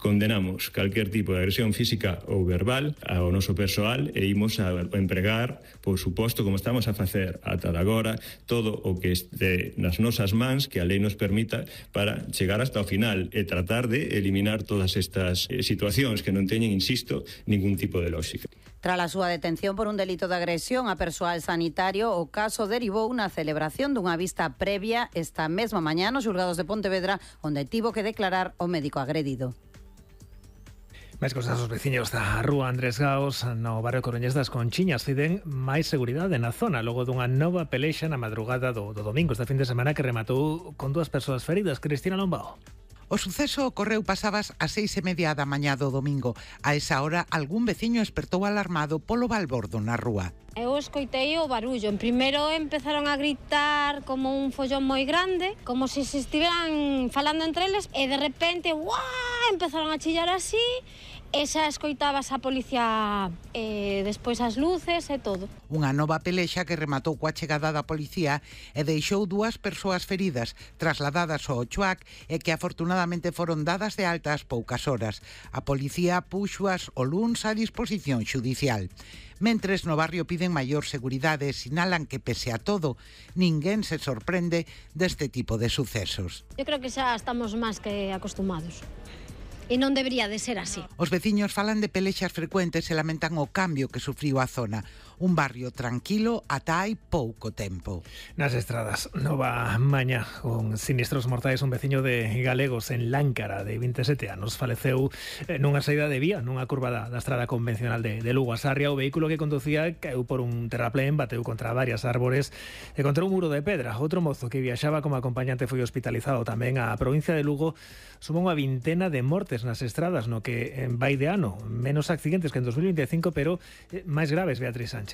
condenamos calquer tipo de agresión física ou verbal ao noso persoal e imos a empregar, por suposto, como estamos a facer ata de agora, todo o que este nas nosas mans que a lei nos permita para chegar hasta o final e tratar de eliminar todas estas situacións que non teñen, insisto, ningún tipo de lógica. Tras a súa detención por un delito de agresión a persoal sanitario, o caso derivou unha celebración dunha vista previa esta mesma mañá nos xulgados de Pontevedra, onde tivo que declarar o médico agredido. Máis cosas, os veciños da rúa Andrés Gaos no barrio Coruñés das Conchiñas piden máis seguridade na zona logo dunha nova pelexa na madrugada do domingo este fin de semana que rematou con 2 persoas feridas. Cristina Lombao. O suceso ocorreu pasabas as 6:30 da mañá do domingo. A esa hora, algún veciño espertou alarmado polo balbordo na rúa. Eu escoitei o barullo. En primeiro empezaron a gritar como un follón moi grande, como se estiveran falando entre eles, e de repente, ¡guau!, empezaron a chillar así, e xa escoitabas a policía, despois as luces e todo. Unha nova pelexa que rematou coa chegada da policía e deixou 2 persoas feridas, trasladadas ao Chuac e que afortunadamente foron dadas de alta ás poucas horas. A policía puxoas o luns a disposición xudicial. Mentres no barrio piden maior seguridade e sinalan que, pese a todo, ninguén se sorprende deste tipo de sucesos. Eu creo que xa estamos máis que acostumados. E non debería de ser así. Os veciños falan de pelexas frecuentes e lamentan o cambio que sufriu a zona. Un barrio tranquilo ata hai pouco tempo. Nas estradas, nova mañá con sinistros mortais. Un veciño de Galegos en Láncara de 27 anos faleceu nunha saída de vía nunha curva da estrada convencional de Lugo a Sarria. O vehículo que conducía caeu por un terraplén, bateu contra varias árbores e contra un muro de pedra. Outro mozo que viaxaba como acompañante foi hospitalizado tamén. A provincia de Lugo sumou unha vintena de mortes nas estradas no que vai de ano. Menos accidentes que en 2025, pero máis graves, Beatriz Sánchez.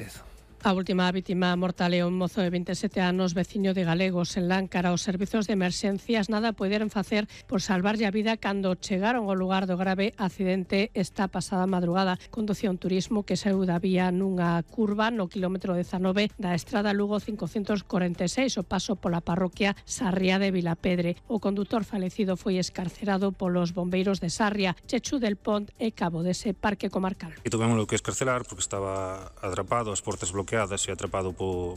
A última vítima mortal é un mozo de 27 anos, veciño de Galegos en Láncara. Os servizos de emerxencias nada poderon facer por salvarlle a vida cando chegaron ao lugar do grave accidente esta pasada madrugada. Conducía un turismo que saíu da vía nunha curva no quilómetro 19 da estrada Lugo 546, o paso pola parroquia Sarria de Vilapedre. O condutor falecido foi escarcerado polos bombeiros de Sarria, Chechu del Pont e Cabo dese parque comarcal. E tuvemos que escarcelar porque estaba atrapado, as portas bloqueadas e atrapado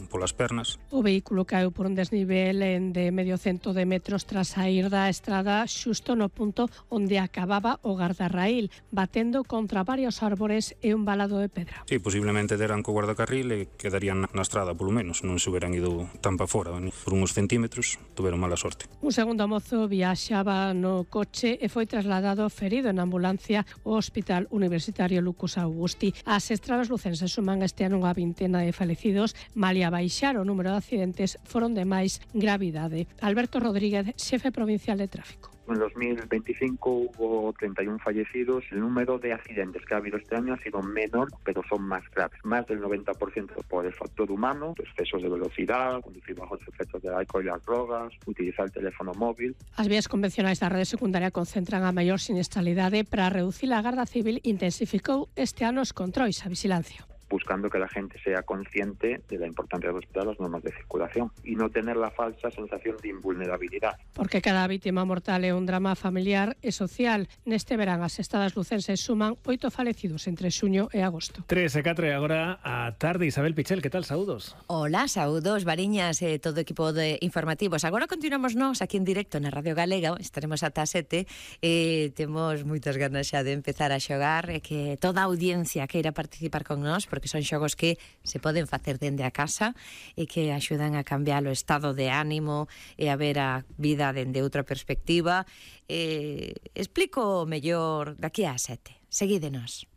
polas pernas. O vehículo caeu por un desnivel de medio cento de metros tras saír da estrada xusto no punto onde acababa o gardarraíl, batendo contra varios árbores e un valado de pedra. Sí, posiblemente deran co guardacarril e quedarían na estrada polo menos, non se hubieran ido tan pa fora, por uns centímetros, tuveron mala sorte. Un segundo mozo viaxaba no coche e foi trasladado ferido en ambulancia ao Hospital Universitario Lucas Augusti. As estradas lucenses suman este ano unha vintena de falecidos, malia baixar o número de accidentes foron de máis gravidade. Alberto Rodríguez, xefe provincial de tráfico. En 2025 hubo 31 fallecidos. El número de accidentes que ha habido este año ha sido menor, pero son más graves. Más del 90% por el factor humano, excesos de velocidad, conducir bajo los efectos del alcohol y las drogas, utilizar el teléfono móvil. As vías convencionais da rede secundaria concentran a maior siniestralidade. Para reducir a Garda Civil intensificou este ano os controis a vigilancia, buscando que la gente sea consciente de la importancia de respetar las normas de circulación y no tener la falsa sensación de invulnerabilidad. Porque cada vítima mortal é un drama familiar e social. Neste verán as estadas lucenses suman 8 falecidos entre xuño e agosto. 3 e 4 e agora a tarde. Isabel Pichel, que tal? Saúdos. Hola, saúdos, Variñas e todo o equipo de informativos. Agora continuamos nós aquí en directo na Radio Galega. Estaremos ata 7 e temos moitas ganas xa de empezar a xogar e que toda a audiencia queira participar con nós, porque son xogos que se poden facer dende a casa e que axudan a cambiar o estado de ánimo e a ver a vida dende outra perspectiva. Explico mellor daqui a 7. Seguídenos.